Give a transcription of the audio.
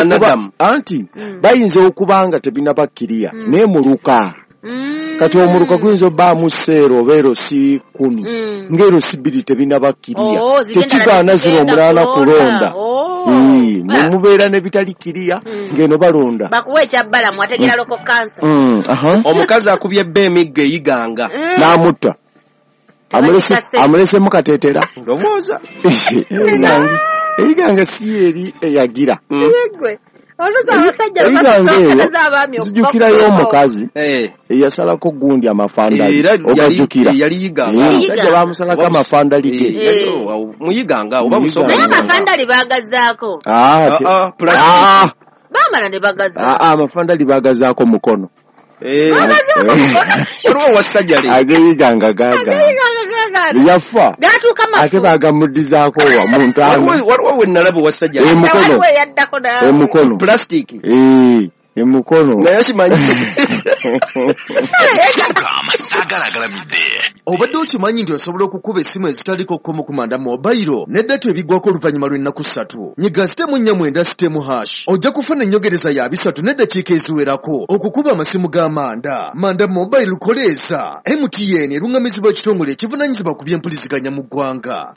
Anadamu. Anti bayinza okuba nga tebinabakkiriya, naye muluka. Kati omuluka guyinza obbaamu seero oba erosi 10, ng'erosi 2 tebinabakkiriya. Oh, zigenda Tekigaana zino zigenda omunaana kulonda. kulonda. Oh. Ee, ne mubeera ne bitali kiriya, ng'eno balonda. Bakuwa ekyabbalamu ategera local council. Omukazi akubye bba emiggo eyiganga. N'amutta. Tebagikase. Amulesemu kateetera. Ndowooza. Eyiganga si eri eyagira. Yeggwe. Oluusi abasajja Eyiganga eyo, basookereza abaami okuva nzijukirayo ku omukazi Eh. eyasalako gundi amafandali. Era Ogajjukira? yali yiganga. Eh, omusajja bamusalako amafandali ge. Eh, yali- oh, muyiganga oba Muyiganga. busoga. Naye amafandali baagazaako. Ah, Ah, ah, plastic. Ah, Baamala ne bagaza. ah, ah, amafandali bagazaako mukono. Eh. Bagazaako mukono. Waliwo wasajjale. Ageyiganga gaagaana. Ageyiganga gaagaana. Yafa. Gatuuka mafu. Ate bagamuddizaako wa mu ntaana. Waliwo we nalaba wasajjale. Emukono. Waliwo eyaddako naawe. Emukono. Plastic. Eh, emukono. Naye kimanyi. Saagala agalamidde. Obadde okimanyi nti osobola okukuba essimu ezitaliko kkomo ku Manda Mobile ne data ebiggwako oluvannyuma lw'ennaku 3. Nyiga *49*#, ojja kufuna ennyogereza ya 3 n'eddakiika eziwerako okukuba amasimu ga Manda. Manda Mobile koleeza. MTN eruŋŋamizibwa ekitongole ekivunaanyizibwa ku by'empuliziganya mu ggwanga.